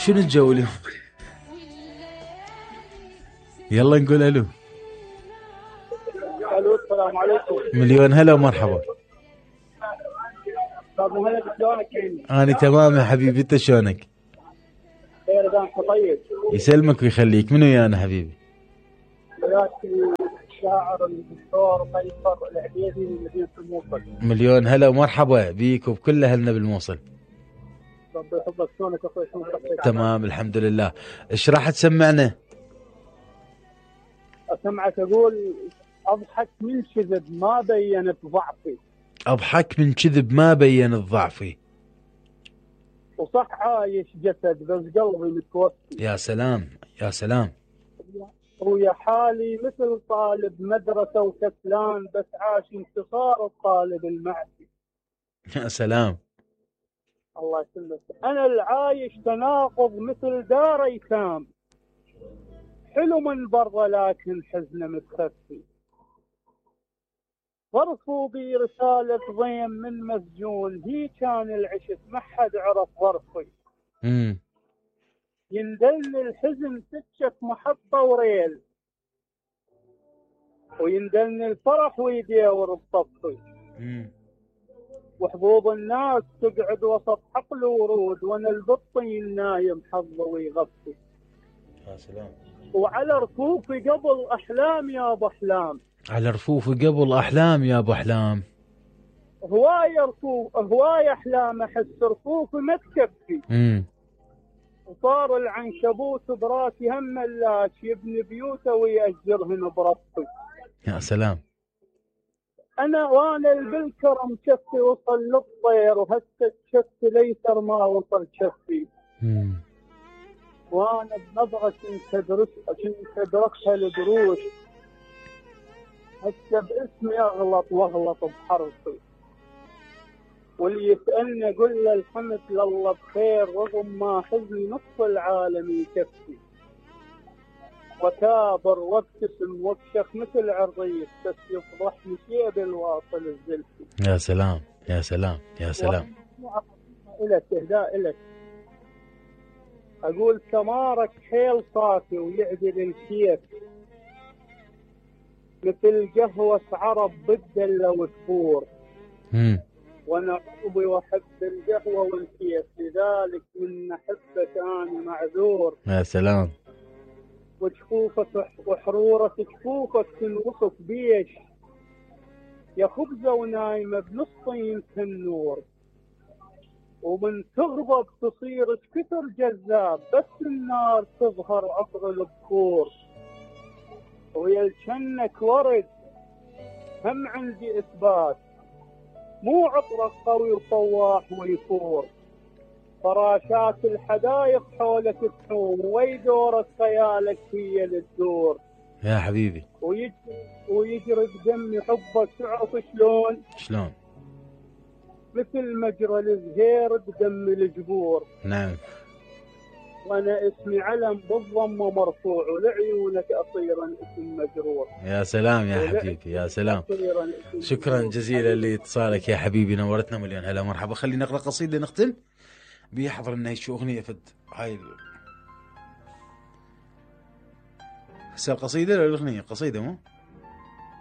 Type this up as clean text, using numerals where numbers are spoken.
شنو الجو اليوم؟ يلا نقول الو. الو السلام عليكم. مليون هلا ومرحبا. استاذ مهند شلونك؟ انا تمام يا حبيبي، انت شلونك؟ خير دامك طيب. يسلمك ويخليك. منو يانا حبيبي؟ وياك الشاعر الدكتور قيصر العبيدي من مدينه الموصل. مليون هلا ومرحبا بيك وبكل اهلنا بالموصل. ربي يحفظك. شلونك اخوي؟ شلون صحتك؟ تمام الحمد لله. ايش راح تسمعنا؟ اسمعك اقول اضحك من كذب ما بينت ضعفي. اضحك من كذب ما بينت ضعفي. وصح عايش جسد بس قلبي متوفي. يا سلام يا سلام. ويا حالي مثل طالب مدرسه وكسلان بس عاش انتصار الطالب المعسي. يا سلام. الله يسلمك. انا العايش تناقض مثل دار ايتام، حلو من برا لكن حزنه متخفي. ظرفوا بي رسالة ضيم من مسجون، هي كان العشق ما حد عرف ظرفي. يندلني الحزن سكة محطة وريل، ويندلني الفرح ويديور بصفي. وحبوب الناس تقعد وسط حقل ورود، وانا البطي النايم حظه ويغفي. يا سلام. وعلى رفوفي قبل احلام يا ابو احلام. على رفوفي قبل احلام يا ابو احلام. هواية رفوف هواية احلام احس رفوفي ما تكفي. وصار العنكبوت براسي هم ملاش، يبني بيوته ويأجرهن برفي. يا سلام. وانا بالكرم شفي وصل للطير، وهسه شفي ليسر ما وصل شفي. وانا بنظرة كنت ادركها الدروش، هسه باسمي اغلط واغلط بحرفي. واللي يسألني اقول له الحمد لله بخير، رغم ما حزني نصف العالم يكفي. وكابر وابتسم وابشخ مثل عريس، بس يفضحني شيء بالواصل الزلفي. يا سلام يا سلام يا سلام. إلك اهداء إلك. اقول سمارك حيل صافي ويعدل الكيف، مثل قهوة عرب بالدلة وتفور. وانا عضوي واحب القهوة والكيف، لذلك من احبك انا معذور. يا سلام. وجفوفك وحرورة جفوفك تنوصف بيش، يا خبزة ونايمة بنصين النور. ومن تغضب تصير كثر جذاب، بس النار تظهر عطر البخور. ويلجنك ورد هم عندي اثبات، مو عطرك قوي وصواح ويفور. فراشات الحدايق حولك تحوم، ويدورك خيالك هي للدور. يا حبيبي. ويجري بدمي حبك، تعرف شلون؟ شلون؟ مثل مجرى الزهير بدم الجبور. نعم. وانا اسمي علم بالضمه مرفوع، ولعيونك اصيرا اسم مجرور. يا سلام يا حبيبي يا سلام. شكرا جزيلا لاتصالك يا حبيبي، نورتنا. مليون هلا مرحبا. خلينا نقرا قصيده نختم بيحضر لنا شو اغنيه فد هاي هسه القصيده ولا الاغنيه؟ قصيده مو